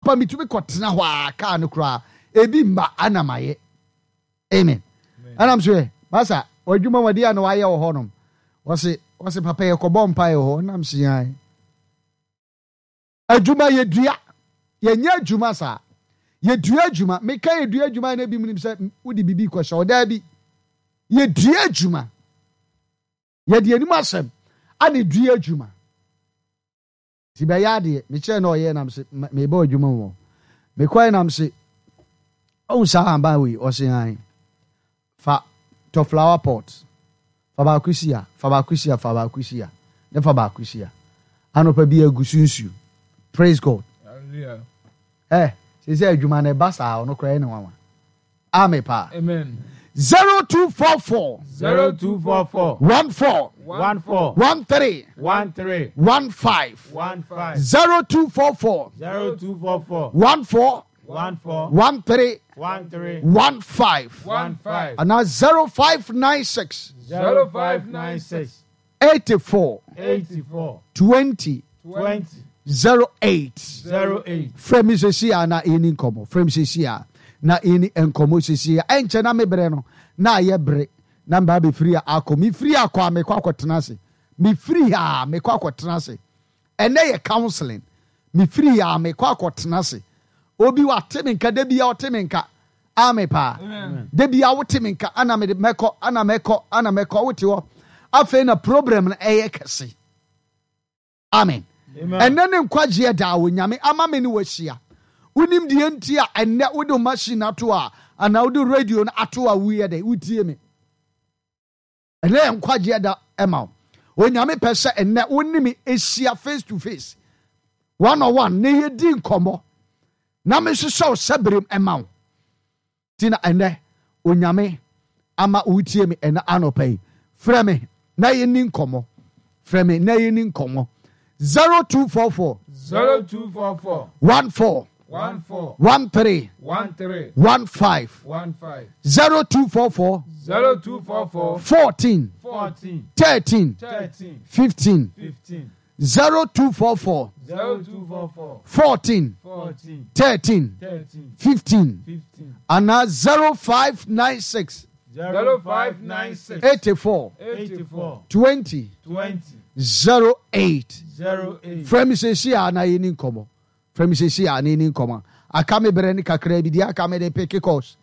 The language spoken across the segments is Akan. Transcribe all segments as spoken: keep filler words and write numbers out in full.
Pa metumi kɔtena hɔ a kaa no koraa ebi mma ana mayɛ. Amen. Anam so yɛ masa adwuma wadi a na wayɛ wɔ hɔnom. Wɔse wɔse papa yɛ kɔbɔ mpa yɛ hɔ nam so yan. Adwuma yɛ dua. Yɛnyɛ adwuma saa. Yɛdua adwuma. Meka yɛdua adwuma na ebi mu nim sɛ wode biribi kɔhyɛ ɔdaa bi. Yɛdua adwuma. Yɛde anim asɛm ana dua adwuma. Ti bɛyɛ adeɛ mekyerɛ na ɔyɛ nam se mebɔ adwuma wɔ. Mekɔɛ nam se ɔhu saa aban wei ɔse han fa tɔ flower pot fa baako si ha fa baako si ha fa baako si ha ne fa baako si ha anɔpa bi agu so nsuo. Praise God. Hallelujah. Eh, sɛ adwuma no ɛba saa ɔno koraa ne nwanwa. Amen paa. Amen. Zero two four four. Zero two four four. One four. One four. One three. One three. One five. One five. Zero two four four. Zero two four four. One four. One four. One three. One three. One five. One five. And now zero five nine six. Zero five nine six. Eighty four. Eighty four. Twenty. Twenty. Zero eight. Zero eight. Frame sisi a na ini nkomo. Frame sisi a na ini nkomo sisi a. Enche na me bre no. Na ye bre. Na mba be free akọ. Mi free akọ a me kwa akọtena ase. Mi free ha me kwa akọtena ase. Ene ye counseling. Mi free ha me kwa akọtena ase. Obi wa temi nka de bia o temi nka. Ame pa. De bia wo temi nka ana me mekọ ana mekọ ana mekọ wo te ho. Afei na problem na eye kese. Amen. Ene ne nkwagye da wo nyame ama me ne wahia. Wonim de enti a ene wo de machine ato a ana wo de radio na ato a wo ye de wotie me. Ene nkwagye da ema wo. Onyame pɛ sɛ ene wo ne me ehia face to face. One on one ne ye di nkomo. Na me hwehwɛ wo sɛbrem ema wo. Ti na ene onyame ama wotie me ene anɔpa yi. Frɛ me na ye ni nkomo. Frɛ me na ye ni nkomo. Zero two four four. Zero two four four. One four. One four. One three. One three. One five. One five. Zero two four four. Zero two four four. Fourteen. Fourteen. Thirteen. Thirteen. Fifteen. Fifteen. Zero two four four. Zero two four four. Fourteen. Fourteen. Thirteen. Thirteen. Fifteen. Fifteen. And now zero five nine six. Zero five nine six. Eighty four. Eighty four. Twenty. Twenty. Zero eight. Zero eight. Frame sisi a na yeni nkomo. Frame sisi a na yeni nkomo. Aka me bere ni kakra bi dia aka me de pick course.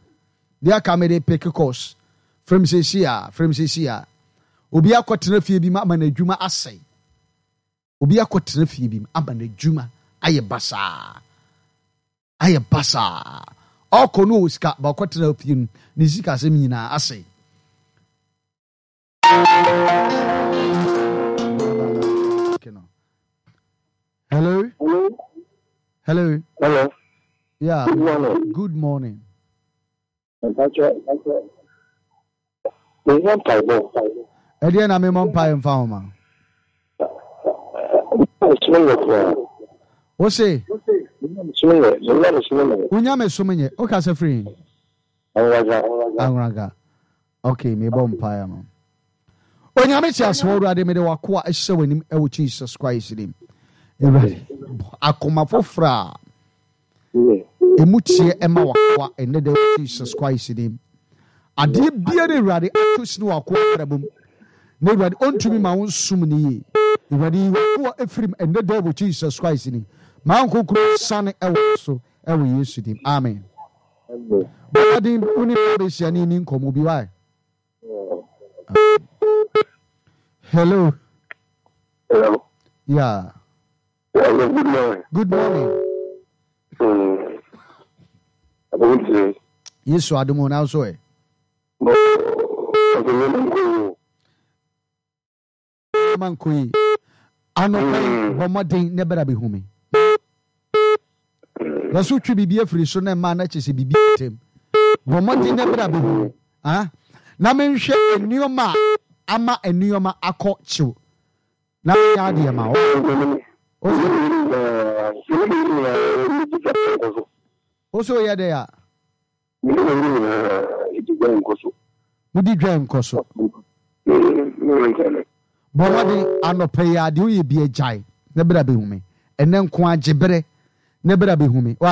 Dia aka me de pick course. Frame sisi a, frame sisi a. Obi akɔtena fie bi ma ama na adwuma asɛe. Obi akɔtena fie bi ma ama na adwuma ayɛ basaa. Ayɛ basaa. Ɔkɔ no sika ba akɔtena fie no ne sika asɛm nyinaa asɛe. Hello? Hello? Hello? Hello. Yeah. Good morning. Good morning. Eddie na me mom pie mfa homa. Wo se? Unya me so menye. O ka se free. Anwaga. Okay, me bom pie ma. Onyame ti aso Awurade me de wakoa ehye wanim e wo Jesus Christ nim. Awurade akoma fofra. Emutie ema wakoa ene de Jesus Christ nim. Ade biara Awurade ato sini wakoa brabum. Na Awurade ontumi ma wo nsum ne ye. Awurade wakoa efrim ene de wo Jesus Christ nim. Ma nkonkro sane ewo so ewo Yesu dim. Amen. Amen. Bɔdin uni be sia ni ni nkomo bi why. Hello. Hello. Yeah. Hello, good morning. Good morning. Mm. Yesu adumo na so e. Man koi. Ano kai bomodin ne bera be humi. Yesu twi bibi afiri so na ma na chese bibi tem. Bomodin ne bera be humi. Ah? Na menhwe enioma ama enioma akọ chiw. Na ya de ma o. O so ye de ya. Mudi dwan nkoso. Bomodin anope ya de o ye bi agyai. Ne bera be humi. Ene nko agyebere. Ne bera be humi.